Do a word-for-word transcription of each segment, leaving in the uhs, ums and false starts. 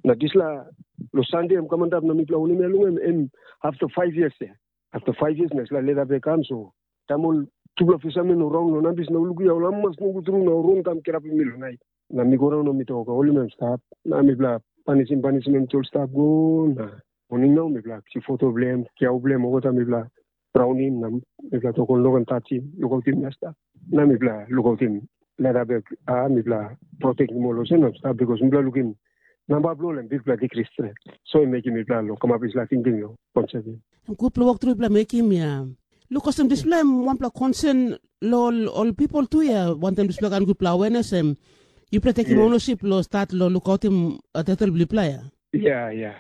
Na dispela, long Sande em kam antap na mipela winim ya long em, em after five years ya. After five years na dispela leta bek kam, so taim ol tupela fishermen ol raun long nambis na ol lukim ya ol amamas nogut tru na ol ron kam kirapim mi long nait. Na mi go daun na mi tok, holim em stap. Na mipela panisim, panisim em ol stap go, na moning nau mipela kisim foto bilong em, kiau bilong em, olgeta mipela raunim, na mipela tok ol no ken tasim, lukautim na stap. Na mipela lukautim leta bek, a mipela protektim ol olsem na stap, bikos mipela lukim namba bilong ol em bikpela dikris stret. So em mekim mipela long kamap dispela tingting long konsep ya. Em gutpela wok tru yupela mekim ya. Luk olsem dispela em wanpela konsen long ol, ol pipel tu ya, wantaim dispela kain gutpela awenes em yupela tekim Yes. Onosip long stat long lukautim uh, taitel bilong yupela ya. Ya, ya,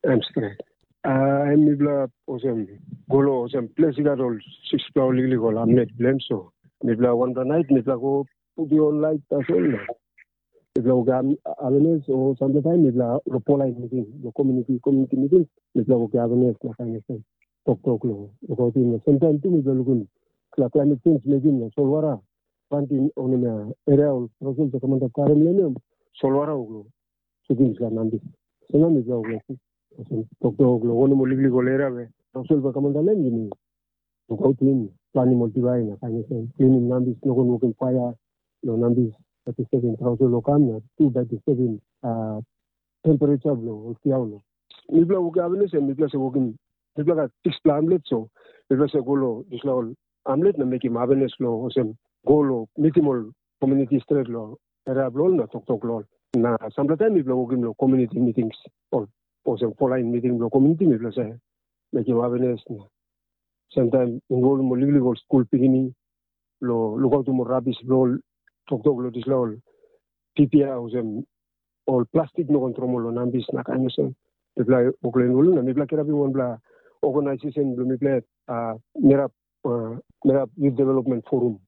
em stret. Uh, em mipela olsem go long olsem ples i gat ol sikspela ol liklik ol hamlet bilong em, so mipela wanpela nait mipela go putim ol lait tasol na mipela go awenes, o sampela taim mipela long polain miting, long komuniti komuniti miting, mipela go awenes na kain olsem toktok long lukautim. Na semtaim tu mipela lukim dispela klaimet senj mekim na solwara planti onim ya, eria ol rosel ta kamantap karim long em, solwara uk long sutim dispela nambis. So na mipela uk long olsem toktok long wanem ol liklik ol eria we rosel ta kamantap long em, yumi lukautim, planim ol diwai na kain olsem, klinim nambis, no ken wokim paia long nambis, bai disturbim trausel long kam na tu bai disturbim uh, temperature bilong ol kiau lo. Mipela wokim awenes em mipela se wokim, mipela gat sikspela hamlet, so mipela se go long dispela ol hamlet na mekim awenes long olsem go long mitim ol komuniti stret long eria bilong ol na toktok long ol. Na sampela taim mipela wokim long komuniti mitings, ol olsem folain miting bilong komuniti mipela se mekim awenes na semtaim involvim ol liklik ol skul pikinini long lukautim ol rabis bilong ol, toktok long dispela ol pipia olsem ol plastik no ken tromol long nambis na kain olsem. Mipela woklen ol na mipela kirapim wanpela organisasen bilong mipela uh, Merap, uh, Merap Youth Development Forum.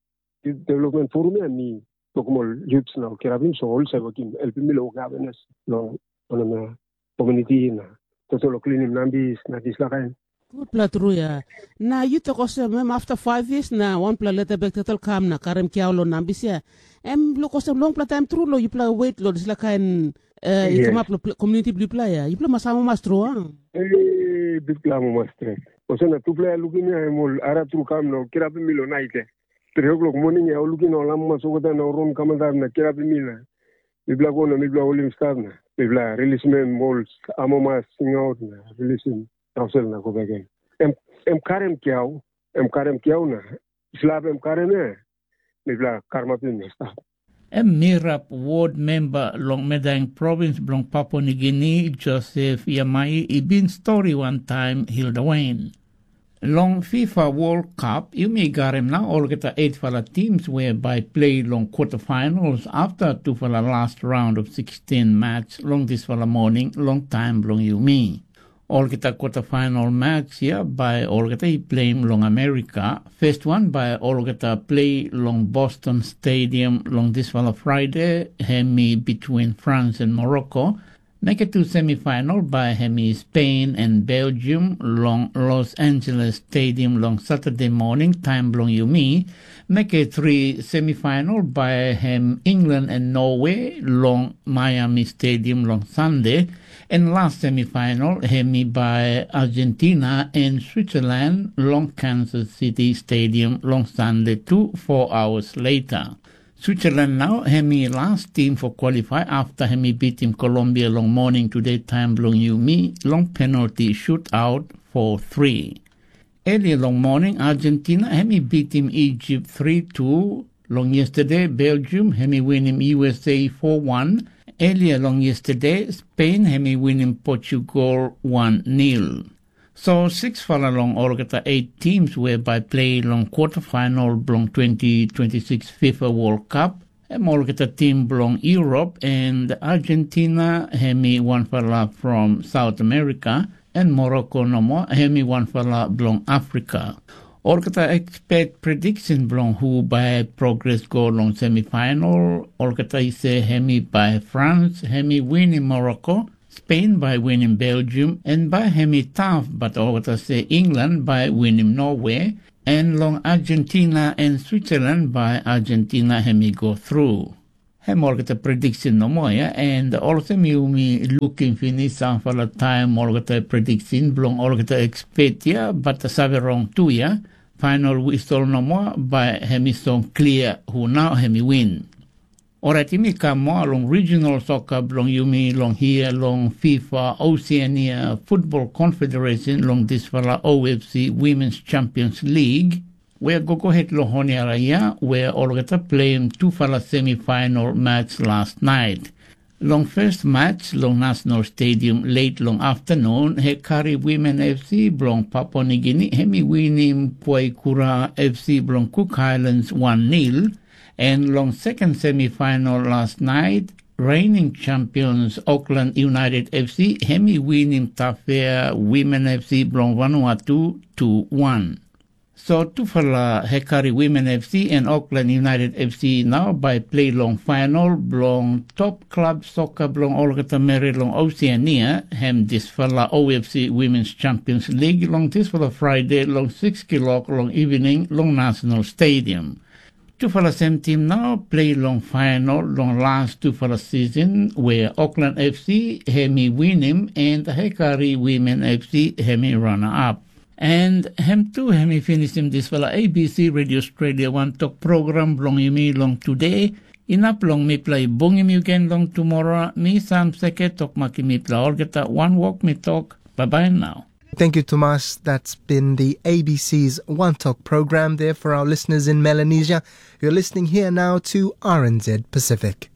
Youth Development Forum ya mi tokim ol youths na kirapim so ol save wokim helpim mi long wokim awenes long wanem komuniti na tasol long klinim nambis na dispela kain. Gutpela tru ya. Na yu tok olsem em afta five years na wanpela leta bek tasol kam na karim kiau long nambis ya. Em luk olsem longpela taim tru long yupela wet long dispela kain uh, i kamap long komuniti bilong yupela ya. Yupela mas amamas tru a? Bikpela amamas stret. Olsem na tupela ya lukim ya em ol ara tru kam na kirapim mi long nait ya. Tri o'clock moning ya ol lukim na ol amamas olgeta na ol ron kamantap na kirapim mi na mipela go na mipela holim stap na mipela rilisim em ol amamas singaut na rilisim rausel na go bek gen. Em, em karim kiau, em karim kiau na slap em karim ya, mipela karamapim na stap. Em Mirap ward memba long Medaeng provins bilong Papua Nigini, Josef Yamai i bin stori wantaim Hilda Wain. Long FIFA World Cup, yumi garim na olgeta eightfala teams we bai play long quarterfinals after tufala last round of sixteen match long dispela morning long taim bilong yumi. Olgeta quarterfinal match ya bai olgeta i pleim long Amerika. First one bai olgeta play long Boston Stadium long dispela Friday, hemi between France and Morocco. Make two semifinal bai hemi Spain and Belgium long Los Angeles Stadium long Saturday morning time bilong yumi. Make three semifinal bai hem England and Norway long Miami Stadium long Sunday. En last semifinal hemi bai Argentina en Switzerland long Kansas City Stadium long Sunday tu four hours later. Switzerland nau hemi last team for qualify after hemi bitim Colombia long morning today time bilong yumi long penalty shootout four three. Earlier long morning Argentina hemi bitim Egypt three two. Long yesterday Belgium hemi winim U S A four one. Earlier long yesterday Spain hemi winim Portugal one nil. So sixfala long olgeta eight teams we bai play long quarterfinal bilong twenty twenty-six FIFA World Cup, em olgeta tim bilong Europe, and Argentina hemi wanfala from South America, and Morocco nomo hemi wanfala bilong Africa. Olgeta expect prediction bilong hu bai progress go long semifinal, olgeta i se hemi bai France hemi winim Morocco, Spain bai winim Belgium, en bai hemi taf, bat olgeta se England bai winim Norway, en long Argentina en Switzerland bai Argentina hemi go thru. Em olgeta prediction nomo ya, and olsem yumi lukim finis sampela taim olgeta prediction bilong olgeta expert ya, bat save rong tu ya. Final whistle nomo, bai em i song clear hu nau em i win. Orait yumi kam moa long regional soccer bilong yumi long hia long FIFA Oceania Football Confederation long dispela O F C Women's Champions League, wea go go het long Honiara ya, wea olgeta pleim tufala semifinal match last night. Long first match long National Stadium late long afternoon, Hekari Women F C bilong Papua New Guinea, hem i winim Puaikura F C bilong Cook Islands one nil, and long second semifinal last night, reigning champions Auckland United F C, hem i winim Tafea Women F C bilong Vanuatu two one. So tufala Hekari Women F C and Auckland United F C now by play long final belong top club soccer belong olgeta meri long Oceania, hem disfala O F C Women's Champions League long disfala Friday long six kilok long evening long National Stadium. Tufala sem tim nau plei long fainol long las tufala sisin, wea Auckland F C hem i winim en Hekari Women F C hem i rana ap. En hem tu hem i finisim dispela A B C Radio Australia wantok program bilong yumi long tude. Inap long mipela i bungim yu gen long tumora, mi Sam Seke tok makim mipela olgeta wanwok mi tok, bye bye now. Thank you, Tomas. That's been the A B C's One Talk program there for our listeners in Melanesia. You're listening here now to R N Z Pacific.